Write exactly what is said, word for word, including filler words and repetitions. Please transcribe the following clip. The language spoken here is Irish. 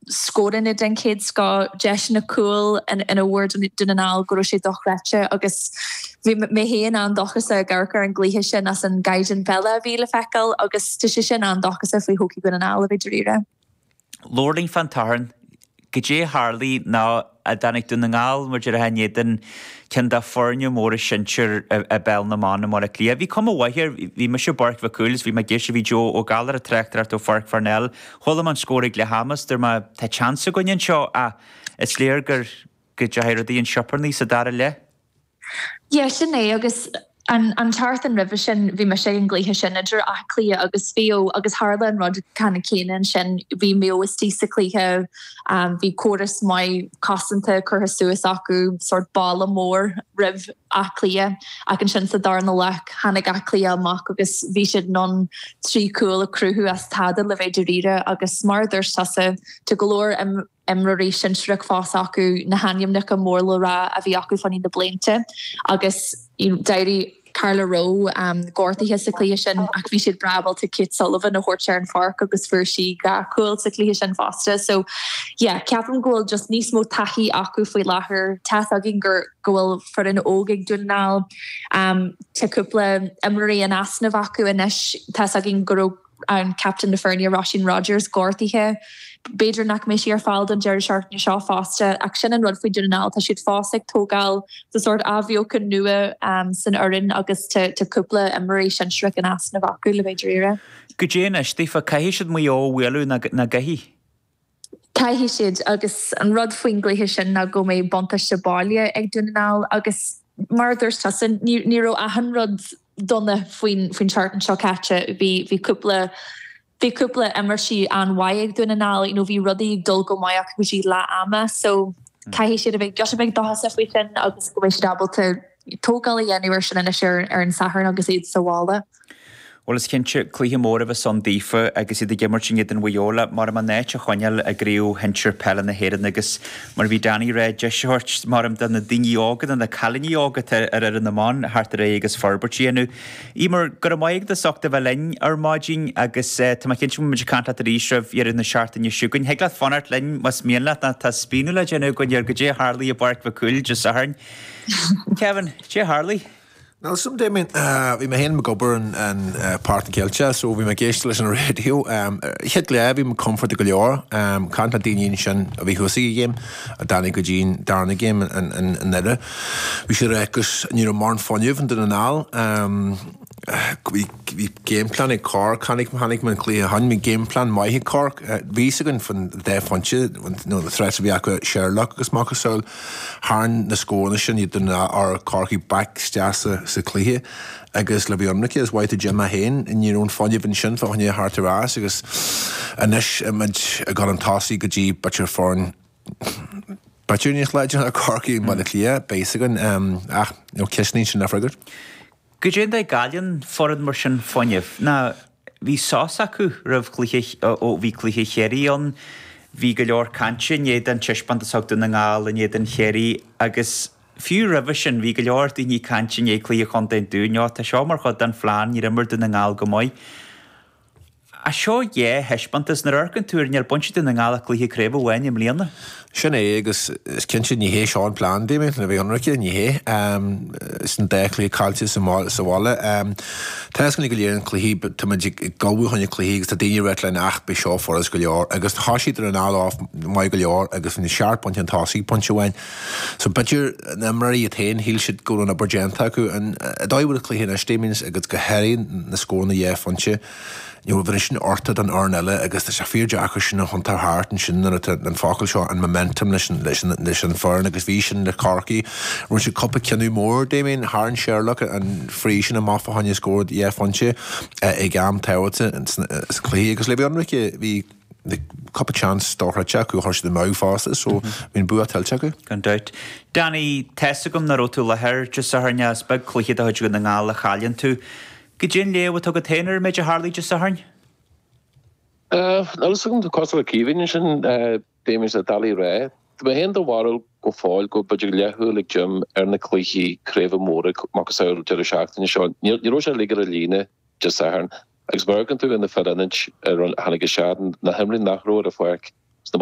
scóranna den chéad scoth, deiseanna cúil ina bhfuair Dún na nGall go raibh sé dochreidte agus bhí mé féin an-dóchasach ag amharc ar an gcluiche sin as an gcaighdeán peile a bhí le feiceáil agus tá sé sin an-dóchasach faoi thodhchaí Dhún na nGall a bheith dáiríre. Labhair linn fán Satharn, goidé a tharlaigh nó a dtáinig Dún na nGall mar déarfá in éadan ceann de foirne móra sinsir i bpeil na mban i mBaile Átha Cliath. Bhí cuma mhaith air, bhí mise i bPáirc Mhic Cumhaill is bhí mé ag éisteacht, bhí Joe Ó Gallchóir ag tráchtaireacht ó Pháirc Pharnell. Chuala mé an scór ag leath ama is dúirt mé tá seans againn anseo ach is léir gur go dteachaigh rudaí an sioparnaí sa dara leath. Yeah, sin é agus an an tseachtain roimhe sin bhí mise ag an gcluiche sin idir Áth Cliath agus Maigh Eo agus tharla an rud ceannann céanna ansin bhí Maigh Eo istigh sa chluiche um, bhí córas maith cosanta curtha suas acu sort balla mór roimh Áth Cliath ach ansin sa darna leath tháinig Áth Cliath amach agus bhí siad in ann trí chúl a chruthú as tada le bheith dáiríre agus mar dúirt tusa tá go leor imreoirí sinsearach fós acu na hainmneacha mór le rá a bhí acu fan na blianta agus d'éirigh Carla Rowe um, gortaithe sa chluiche sin ach bhí siad breá ábalta Kate Sullivan a thabhairt ar an pháirc agus fuair sí dhá chúl sa chluiche sin fosta. So yeah, ceapaim go bhfuil just níos mó taithí acu faoi láthair tá againn gur go bhfuil foireann óg ag Dún na nGall um, tá cúpla imreoirí in easnamh acu anois tá againn go raibh an captain na foirne Roisin Rogers gortaithe. B'fhéidir nach mbeidh sí ar fáil don deireadh seachtaine seo fosta ach sin an rud faoi Dún na nGall tá siad fós ag tógáil sa sort athbheochan nua um, san fhoireann agus tá cúpla imreoirí sinsearach in easnamh acu le bheith dáiríre. Goidé anois daofa caithfidh siad Maigh Eo a bhualadh nó gcaithfidh. Caithfidh siad agus an rud faoin gcluiche sin ná go mbeidh buntáiste baile ag Dún na nGall agus mar dúirt tusa ní raibh achan rud dona faoin faoin tseachtain seo caite bhí bhí cúpla bhí cúpla imirt an-mhaith ag Dún na nGall you know, bhí rudaí ag dul go maith go dtí leath ama so caithfidh siad a bheith giota beag dóchasach faoi sin agus go mbeidh siad ábalta tógáil a dhéanamh ar sin anois ar ar an Satharn agus iad sa bhaile. Well is cinnte cluiche mór a bheas ann daofa agus iad ag imirt in éadan Mhaigh Eo le mar an áit a choinneáil i gcraobh shinsir peile na hÉireann agus mar bhí Danny ag rá deis a thabhairt mar do na daoine óga na cailíní óga ar fhoireann na mban thart ar aghaidh agus forbairt a dhéanamh. Emer go raibh maith agat as ucht a bheith linn ar maidin agus tá mé cinnte muid ag caint leat arís roimh dheireadh na seachtaine seo chugainn. Thig leat fanacht linn más mian leat ná tá spíonadh le déanamh againn ar goidé a tharlaigh i bPáirc Mhic Cumhaill Dé Sathairn. Kevin, cé tharlaigh? Well some Damien bhí mé féin ag obair an an Páirc na Ceilte so bhí mé ag éisteacht leis an radio Chéad leath bhí mé compordach go leor caint le daoine sin a bhí thuas ag game a dtáinig go dtí an darna game an an eile. Bhí sé agus ní raibh mórán fuinnimh in Dún na nGall bhí game plan ag Cork tháinig tháinig an cluiche han bhí game plan maith ag Cork bhí gan fan dá phointe nó na threats a bhí acu Sherlock agus Macasol tharraing na scóranna sin iad ar Corcaigh back isteach sa sa cluiche agus le bhí ionraice is mhaith Jim a haon ní raibh an fuinneamh ansin fá choinne thart ar ais agus anois muid ag dul an tosaí go dtí b'fhéidir foireann b'fhéidir níos láidre ná Corcaigh Baile Átha Cliath beidh againn ach nó ceistníonn sin le freagairt. Goidé an dóigh a gcailleann foireann mar sin fuinneamh ná bhí sos acu roimh chluiche ó bhí cluiche Chiarraí ann, bhí go leor cainte in éadan taispeántas thug Dún na nGall in éadan Chiarraí agus fiú roimhe sin bhí go leor daoine cainte in éadan cluiche Chontae an Dúin, tá seo mar chuid den phlean níor imir Dún na nGall go maith. A seo dhá thaispeántas nuair a amharcann tú ar níor bainte Dún na nGall ach cluiche craoibhe amháin i mbliana. Sin é agus is cinnte ní hé seo an plean Damien na bhí ionraice ní hé is an dá chluiche caillte sa bhaile. Tá go léir an cluichí tá ag gabháil chun cluichí agus tá daoine ag rá linn ach beidh seo furast go leor agus tá siad ar an off maith go leor agus bhí seacht bpointe an tosaigh pointe amháin. So b'fhéidir na imreoirí iad féin shíl siad go raibh an obair déanta acu an dóigh bhfuil cluiche anois Damien agus go háirithe na scóranna dhá phointe. You know, sin orthu don fhoireann eile agus tá sé fíordeacair sin a thiontar thart ansin nuair atá an focal seo an momentum leis an leis an leis an foireann agus bhí sin le Corcaigh rinne siad cúpla cinneadh mór Damien tharraing Sherlock an free sin amach fá choinne scór dhá phointe ag am tábhachtach sa chluiche agus le bheith ionraice bhí cúpla chance dochreidte acu chuir siad amú fosta so bhí an bua tuillte acu. Gan dabht. Danny tá a fhios agam nach raibh tú i láthair Dé Sathairn is beag cluiche de chuid Dhún na nGall a chailleann tú. Goidé an léamh atá agat féin ar an méid a tharlaigh Dé Sathairn? Níl a fhios agam cosúil le Caoimhín sin Damien sa doiligh a rá. Tá mé féin de bharúil go fóill go b'fhéidir leathshúil ag Jim ar na cluichí craoibhe móra macasamhail deireadh seachtaine seo. Ní raibh sé uilig ar an líne Dé Sathairn agus mar tú in na fir ionaid ar tháinig isteach na himreoirí nach raibh ar an pháirc